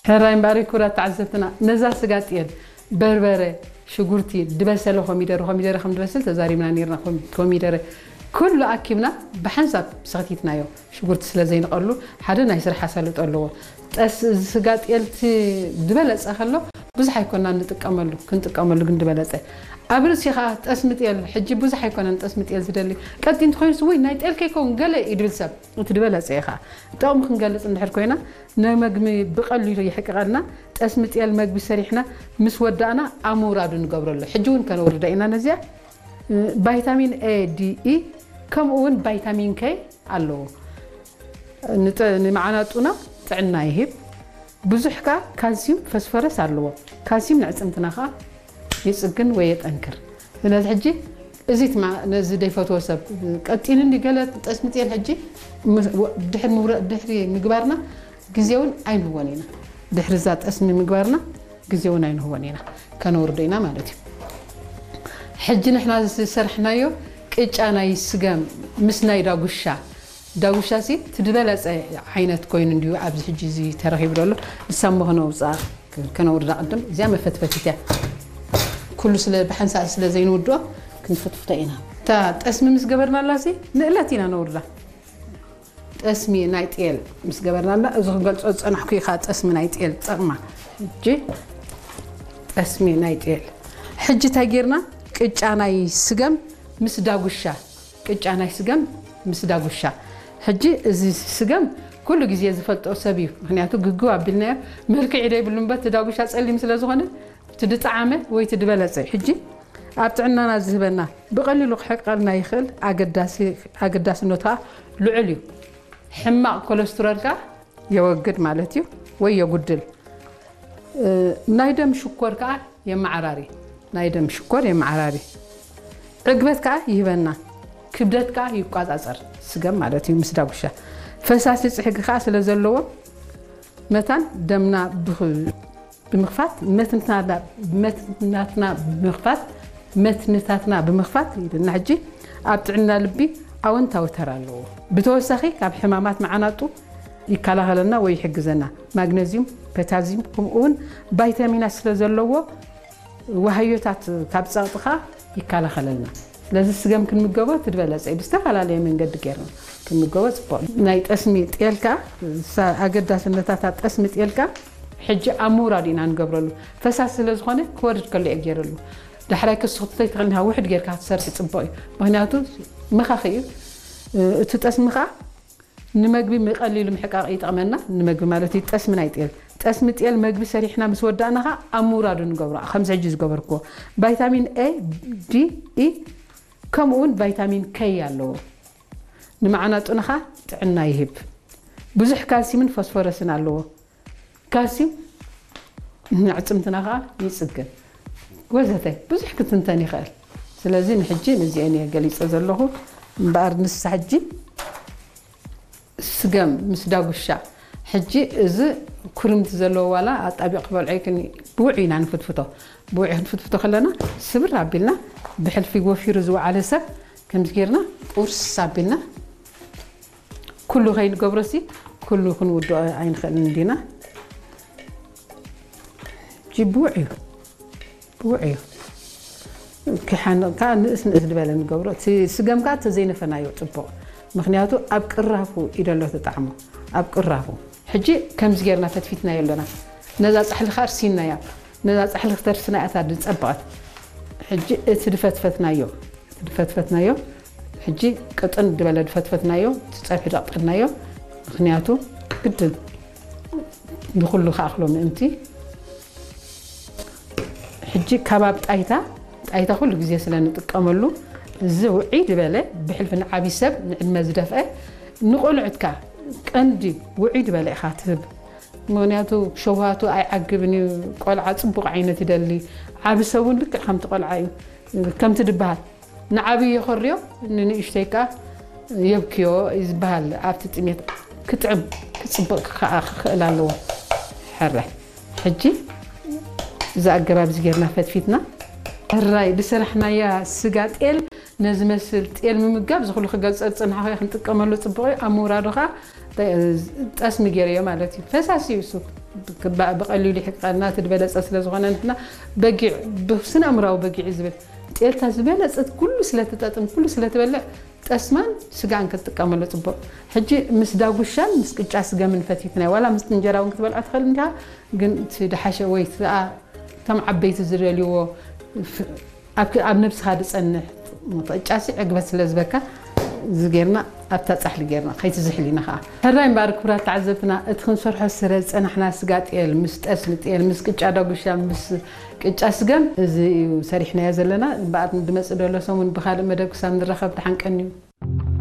ሕራይ እምበኣር ክቡራት ተዓዘብትና፣ ነዛ ስጋ ጤል፣ በርበረ፣ ሽጉርቲ፣ ድበሰለ ኮሚደረ፣ ኮሚደረ ከም ድበስል ተዛሪብና ነይርና። ኮሚ-፣ ኮሚደረ ኩሉ ኣኪብና ብሓንሳብ ሰኽቲትናዮ። ሽጉርቲ ስለ ዘይንቐሉ ሓደ ናይ ስራሕ ኣሳልጦ ኣለዎ። ጠስ-፣ እዚ ስጋ ጤልቲ ዝበለጸ ከሎ ብዙሕ ኣይኮናን ንጥቀመሉ፣ ክንጥቀመሉ ግን ዝበለጸ። ኣብ ርእሲ ኸኣ ጠስሚ ጤል፣ ሕጂ ብዙሕ ኣይኮነን ጠስሚ ጤል ዝደሊ። ቀጢን እንተኾይኑስ፣ "ውይ፣ ናይ ጤል ከይከውን ገለ" እዩ ድብል ሰብ። እቲ ዝበለጸ እዩ ኸኣ። ጥቕሚ ክንገልጽ እንድሕር ኮይና፣ ንመግቢ ብቐሊሉ ይሕቅቐልና። ጠስሚ ጤል መግቢ ሰሪሕና ምስ ወዳእና ኣብ ምውራዱ ንገብረሉ። ሕጂ እውን ከነውርዳ ኢና ነዚኣ። እ፣ ቫይታሚን ኤ፣ ዲ፣ ኢ፣ ከምኡ እውን ቫይታሚን ከይ ኣለዎ። ንጠ-፣ ንመዓናጡና ጥዕና ይህብ። ብዙሕ ከኣ ካልሲዩም ፈስፈረስ ኣለዎ። ካልሲዩም ንዕጽምትና ከኣ ይጽግን ወይ የጠንክር። ስለዚ ሕጂ እዚ ትማ-፣ ነዚ ዘይፈትዎ ሰብ ቀጢኑ እንዲ ገለ ጠስሚ ጤል ሕጂ ምስ-፣ ወ-፣ ድሕሪ ምውረ-፣ ድሕሪ ምግባርና ግዜ እውን ኣይንህቦን ኢና። ድሕሪ እዛ ጠስሚ ምግባርና ግዜ እውን ኣይንህቦን ኢና። ከነውርዶ ኢና ማለት እዩ። ሕጂ ንሕና ዝሰርሕናዮ ቅጫ ናይ ስገም ምስ ናይ ዳጉሻ። ዳጉሻ ሲ እቲ ዝበለጸ ዓይነት ኮይኑ እንድዩ ኣብዚ ሕጂ እዚ ተረኺቡ ዘሎ። ንሳ እሞ ከነውጽኣ፣ ከነውርዳ ቅድም። እዚኣ መፈትፈቲት እያ። ኩሉ ስለ ብሓንሳእ ስለ ዘይንውድኦ ክንፍትፍቶ ኢና። እታ ጠስሚ ምስ ገበርናላ ሲ ንእለት ኢና ነውርዳ። ጠስሚ ናይ ጤል ምስ ገበርናላ፣ እዚ ክገልጾ ዝጸናሕኩ ኢኻ ጠስሚ ናይ ጤል ጸቕማ። ሕጂ ጠስሚ ናይ ጤል። ሕጂ እንታይ ጌርና? ቅጫ ናይ ስገም ምስ ዳጉሻ። ቅጫ ናይ ስገም ምስ ዳጉሻ። ሕጂ እዚ ስገም ኩሉ ግዜ ዝፈልጦ ሰብ እዩ። ምኽንያቱ ግግው ኣቢልናዮ፣ መልክዕ ደይብሉ እምበር፣ እቲ ዳጉሻ ጸሊም ስለ ዝኾነ፣ እቲ ድጠዓመ ወይ እቲ ድበለጸ እዩ። ሕጂ ኣብ ጥዕናና ዝህበና፣ ብቐሊሉ ክሕቀልና ይኽእል፣ ኣገዳሲ-፣ ኣገዳስነቱ ከኣ ልዑል እዩ። ሕማቕ ኮለስትሮል ከኣ የወግድ ማለት እዩ፣ ወይ የጉድል። እ፣ ናይ ደም ሽኮር ከኣ የመዓራሪ። ናይ ደም ሽኮር የመዓራሪ። ዕግበት ከኣ ይህበና። ክብደት ከኣ ይቋጻጸር። ስገም ማለት እዩ ምስ ዳጉሻ። ፈሳሲ ጽሕጊ ከኣ ስለ ዘለዎ መታን ደምና ብኽ-፣ ብምኽፋት መትንታና-፣ መትናትና ብምኽፋት መትንታትና ብምኽፋት ኢልና ሕጂ ኣብ ጥዕና ልቢ ኣወንታዊ ተራ ኣለዎ። ብተወሳኺ ካብ ሕማማት መዓናጡ ይከላኸለልና ወይ ይሕግዘና። ማግነዚዩም፣ ፖታዚዩም ከምኡ እውን ቫይታሚናት ስለ ዘለዎ ዋህዮታት ካብ ጸቕጥኻ ይከላኸለልና። ስለዚ ስገም ክንምገቦ እቲ ዝበለጸ እዩ። ብዝተፈላለየ መንገዲ ጌርና ክንምገቦ ጽቡቕ እዩ። ናይ ጠስሚ ጤልካ፣ ሳ-፣ ኣገዳስነታታ ጠስሚ ጤልካ ሕጂ ኣብ ምውራድ ኢና ንገብረሉ። ፈሳሲ ስለ ዝኾነ ክወርድ ከሎ እየ ጌረሉ። ዳሕራይ ክስኹት ተይተኸልና ውሕድ ጌርካ ክትሰርሒ ጽቡቕ እዩ። ምኽንያቱ መኻኺ እዩ። እቲ ጠስሚ ኸኣ ንመግቢ ብቐሊሉ ምሕቃቕ ይጠቕመና። ንመግቢ ማለት እዩ፣ ጠስሚ ናይ ጤል። ጠስሚ ጤል መግቢ ሰሪሕና ምስ ወዳእና ኸኣ ኣብ ምውራዱ ንገብሮ። ከምዚ ሕጂ ዝገበርክዎ። ቫይታሚን ኤ፣ ዲ፣ ኢ፣ ከምኡ እውን ቫይታሚን ከይ ኣለዎ። ንመዓናጡና ኸኣ ጥዕና ይህብ። ብዙሕ ካልሲምን ፎስፎረስን ኣለዎ። ካልሲዩም ንዕጽምትና ኸኣ ይጽግን። ወዘተ ብዙሕ ክትንተን ይኽእል። ስለዚ ንሕጂ ነዚአን እየ ገሊጸ ዘለኹ። እምበኣር ንሳ ሕጂ ስገም ምስ ዳጉሻ። ሕጂ እዚ ኩርምቲ ዘለዎ ዋላ ኣጣቢቕ ክበልዖ ይክን፣ ብውዑይ ኢና ንፍትፍቶ። ብውዑይ ክንፍትፍቶ ከለና ስብር ኣቢልና ብሕልፊ ወፊሩ ዝወዓለ ሰብ ከምዚ ጌርና ቁርስ ኣቢልና ኩሉ ከይንገብሮሲ ኩሉ ክንውድኦ ኣይንኽእልን እንዲና። ሕጂ ብውዕ እዩ። ብውዕ እዩ። ክሓንቕ ከኣ ንእስ ንእስ ዝበለ ንገብሮ። እቲ ስገም ከኣ ተዘይነፈናዮ ጽቡቕ። ምኽንያቱ ኣብ ቅራፉ እዩ ዘሎ እቲ ጣዕሙ። ኣብ ቅራፉ። ሕጂ ከምዚ ጌርና ፈትፊትናዮ ኣለና። ነዛ ጻሕሊ ከኣ ኣርሲናያ። ነዛ ጻሕሊ ክተርስና እያ እታ ዝጸበቐት። ሕጂ እቲ ድፈትፈትናዮ፣ እቲ ድፈትፈትናዮ፣ ሕጂ ቅጥን ዝበለ ድፈትፈትናዮ፣ እቲ ጸብሒ ደቕጠናዮ። ምኽንያቱ ግድን ንኹሉ ክኣኽሎ ምእንቲ። ሕጂ ከባብ ጣይታ፣ ጣይታ ኩሉ ግዜ ስለ ንጥቀመሉ፣ እዚ ውዕይ ዝበለ ብሕልፊ ንዓቢ ሰብ፣ ንዕድመ ዝደፍአ፣ ንቆልዑትካ ቀንዲ ውዕይ ዝበለ ኢኻ ትህብ። ምኽንያቱ ሸውሃቱ ኣይዓግብን እዩ። ቆልዓ ጽቡቕ ዓይነት ይደሊ። ዓቢ ሰብ እውን ልክዕ ከምቲ ቆልዓ እዩ። ከምቲ ድበሃል፣ ንዓቢ የኸርዮ፣ ንንእሽተይ ከኣ የብክዮ እዩ ዝበሃል። ኣብቲ ጥሜት ክጥዕም፣ ክጽብቕ ከኣ ክኽእል ኣለዎ። ሕራይ። ሕጂ እዚ ኣገባብ እዚ ጌርና ፈትፊትና። ሕራይ ዝሰራሕናያ ስጋ ጤል ነዚ መስል ጤል ምምጋብ ዝኽሉ ክገልጸ ዝጸናሕኹ ክንጥቀመሉ ጽቡቕ እዩ። ኣብ ምውራዱ ከኣ ጠ-፣ ጠስሚ ገይረዮ ማለት እዩ። ፈሳሲ እዩ እሱ። ብቐሊሉ ይሕቀና እቲ ዝበለፀ ስለ ዝኾነ ንሕና በጊዕ ብስነ ኣእምራዊ በጊዕ እዩ ዝብል ጤልታ ዝበለፀት ኩሉ ስለትጠጥም ኩሉ ስለትበልዕ ጠስማን ስጋን ክትጥቀመሉ ፅቡቕ። ሕጂ ምስ ዳጉሻን ምስ ቅጫ ስገምን ፈቲትናይ ዋላ ምስ እንጀራ እውን ክትበልዖ ትኽእል እንዲኻ፣ ግን እቲ ድሓሸ ወይ እቲ ደኣ እቶም ዓበይቲ ዝደልይዎ ኣብ ነብስኻ ዝፀንሕ ቅጫሲ ዕግበት ስለ ዝበካ እዚ ጌርና ኣብታ ፃሕሊ ጌርና ከይትዝሕል ኢና ከዓ። ሕራይ እምበኣር ክቡራት ተዓዘብትና እቲ ክንሰርሖ ስረ ዝፀናሕና ስጋ ጤል ምስ ጠስሚ ጤል ምስ ቅጫ ዳጉሻ ምስ ቅጫ ስገም እዚ እዩ ሰሪሕናዮ ዘለና። እምበኣር ዝመፅእ ዘሎ ሰሙን ብካልእ መደብ ክሳብ ንራኸብ ደሓን ቀንዩ።